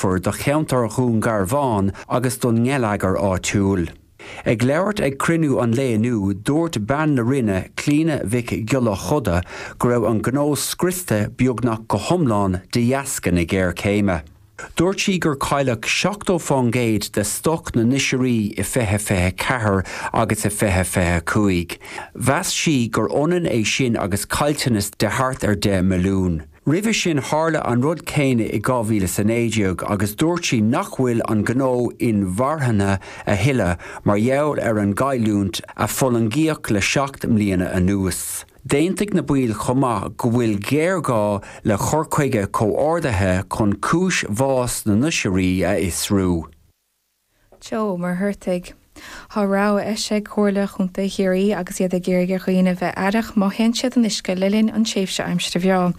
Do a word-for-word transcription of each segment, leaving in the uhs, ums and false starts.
luachmhar do cheantar Dhún Garbhán agus don ngeilleagar áitiúil. Ag labhairt ag cruinniú an lae inniu dúirt bean na Roinne Clíona Mhic Giolla Chuda go raibh an gnó scriosta beagnach go hiomlán de dheasca na géarchéime. Dúirt sí gur cailleadh seachtó faoin gcéad de stoc na n-oisrí i fiche fiche ceathair agus i fiche fiche cúig. Mheas sí gur ionann é sin agus caillteanas de thart ar deich milliún. Roimhe sin tharla an rud céanna i dhá mhíle is a naoi déag agus dúirt sí nach bhfuil an gnó inmharthana a thuilleadh mar gheall ar an gcailliúint a fulaingíodh le seacht mbliana anuas. D'aontaigh na baill chomh maith go bhfuil géarghá le cur chuige comhordaithe chun cúis bhás na n-oisrí a fhiosrú. Joe Ó Muircheartaigh. Tá rabhadh eisithe ag Comhairle Chontae Chiarraí agus iad ag iarraidh ar dhaoine bheith aireach má théann siad san uisce le linn an tréimhse aimsire bhreá.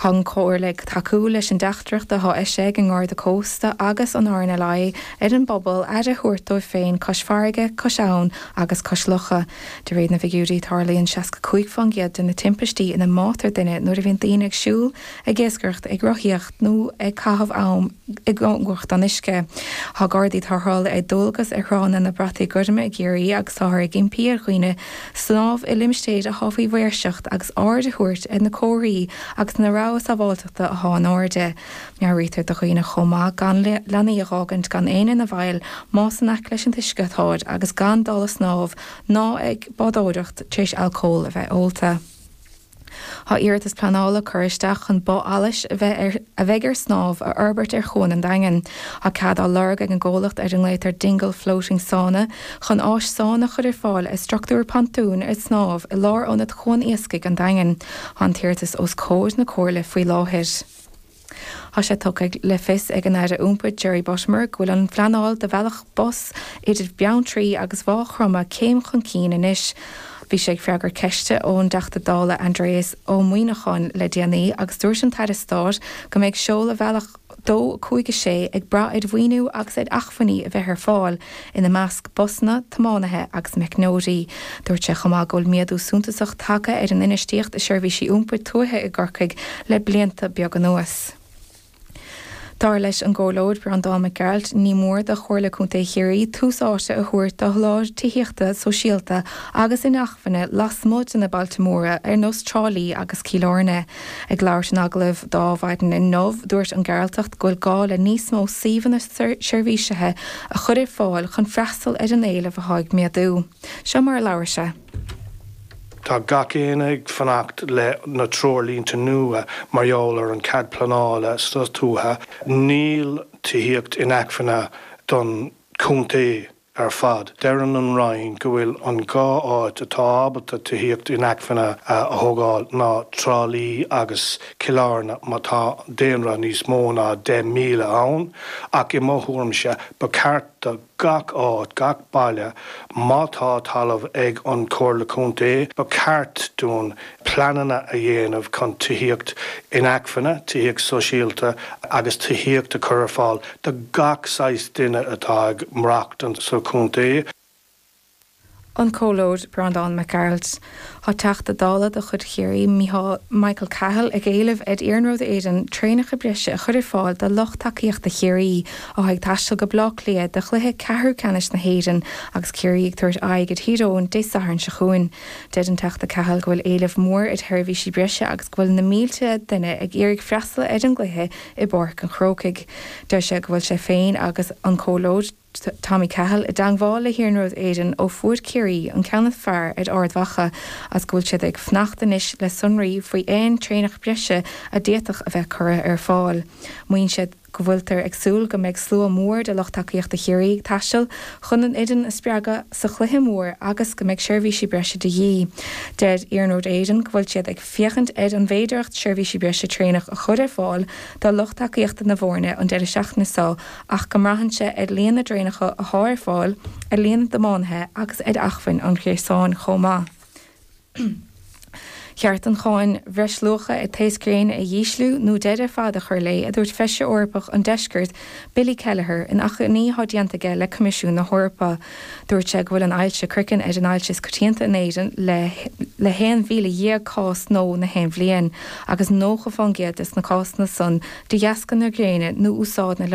Tá an Chomhairle ag tacú leis an dteachtaireacht atá eisithe ag an nGarda Cósta agus an RNLI ar an bpobal aire a thabhairt dóibh féin cois farraige, cois abhann agus cois locha. De réir na bhfigiúirí tarlaíonn seasca cúig faoin gcéad de na timpistí ina mbátar duine nuair a bhíonn daoine ag siúl, ag iascaireacht, ag rothaíocht nó ag caitheamh am i gcóngaracht don uisce. Tá Gardaí tarrthála ar dualgas ar thránna na Brataí Goirme i gCiarraí agus táthar ag impí ar dhaoine snámh i limistéir atá faoi mhaoirseacht agus aird a thabhairt ar na comharthaí agus na rabhaidh sábháilteachta atá in airde. Meabhraítear do dhaoine chomh maith gan leanaí a fhágaint gan éinne ina bhfeighil más in aice leis an uisce atáid agus gan dul ag snámh ná ag bádóireacht tar éis alcól a bheith ólta. Tá iarratas pleanála curtha isteach chun both allais a bheith a bheidh ar snámh a fhorbairt ar Chuan an Daingin. Tá cead á lorg ag an gcomhlacht ar a nglaotar Dingle Floating Sauna chun áis sána chur ar fáil ar struchtúr pontúin ar snámh i lárionad Chuan Iascaigh an Daingin. Tá an t-iarratas os comhair na Comhairle faoi láthair. Tá sé tugtha le fios ag an Aire Iompair Jerry Buttimer go bhfuil an phleanáil do bhealach bus idir Beanntraí agus Mhaigh Chromtha céim chun cinn anois. Bhí sé ag freagairt ceiste ón dTeachta Dála Aindrias Ó Muimhneacháin le déanaí agus dúirt an tAire Stáit go mbeidh seoladh bhealach dó cúig a sé ag brath ar mhaoiniú agus ar acmhainní a bheith ar fáil ina measc busanna, tiománaithe agus meicneoirí. Dúirt sé chomh maith go bhfuil méadú suntasach tagtha ar an infheistíocht i seirbhísí iompair tuaithe i gCorcaigh le blianta beaga anuas. Dar leis an gComhairleoir Breandán Mac Gearailt ní mór do Chomhairle Contae Chiarraí tús áite a thabhairt do sholáthar tithíochta sóisialta agus inacmhainne lasmuigh de na bailte móra ar nós Trá Lí agus Cill Airne. Ag labhairt in agallamh do Adhmhaidin inniu dúirt an Gearaltach go bhfuil gá le níos mó suíomhanna seirbhísithe a chur ar fáil chun freastal ar an éileamh atá ag méadú. Seo mar a labhair sé. Tá gach éinne ag fanacht le na treoirlínte nua mar gheall ar an cead pleanála sa tuaithe. Níl tithíocht inacmhainne don chontae ar fad. Deireann an Roinn go bhfuil an dhá áit atá ábalta tithíocht inacmhainne a thógáil ná Trá Lí agus Cill Airne má tá daonra níos mó ná deich míle ann, ach i mo thuairimse ba cheart do gach áit, gach baile, má tá talamh ag an Chomhairle Contae, ba cheart dúinn pleananna a dhéanamh chun tithíocht inacmhainne, tithíocht sóisialta agus tithíocht a chur ar fáil do gach saghas duine atá ag maireachtáil sa chontae. An Comhairleoir Breandán Mac Gearailt. Tá Teachta Dála de chuid Chiarraí Michael Cahill ag éileamh ar Iarnród Éireann traenacha breise a chur ar fáil do lucht tacaíochta Chiarraí atá ag taisteal go Baile Átha Cliath do chluiche ceathrú ceannais na hÉireann agus Ciarraí ag tabhairt aghaidh ar Thír Eoghain Dé Sathairn seo chugainn. Deir an Teachta Cahill go bhfuil éileamh mór ar sheirbhísí breise agus go bhfuil na mílte duine ag iarraidh freastal ar an gcluiche i bPáirc an Chrócaigh. Deir sé go bhfuil sé féin agus an Comhairleoir Tommy Cahill i dteagmháil le hIarnród Éireann ó fuair Ciarraí an ceann is fearr ar Ard Mhacha as go bhfuil siad ag fanacht anois le sonraí faoi aon traenach breise a d'fhéadfadh a bheith curtha ar fáil. Maíonn siad go bhfuiltear ag súil go mbeidh slua mór de lucht tacaíochta Chiarraí ag taisteal chun an fhoireann a spreagadh sa chluiche mór agus go mbeidh seirbhísí breise de dhíth. Deir Iarnród Éireann go bhfuil siad ag féachaint ar an bhféidearthacht seirbhísí breise traenach a chur ar fáil do lucht tacaíochta na bhfoirne an deireadh seachtaine seo ach go mbraitheann sé ar líon na dtraenacha atá ar fáil, ar líon na dtiománaithe agus ar acmhainn an ghréasáin chomh maith. Cheart an cháin bhreisluacha ar thaos gréine a dhísliú nó deireadh ar fad a chur léi, a dúirt Feisire Eorpach an Deiscirt, Billy Kelleher, in achainí atá déanta aige le Coimisiún na hEorpa. Dúirt sé go bhfuil an ailse chraicinn ar an ailse is coitianta in Éirinn le le haon mhíle dhéag cás nua na haon bhliain, agus nócha faoin gcéad de na cásanna san de dheasca na gréine nó úsáid na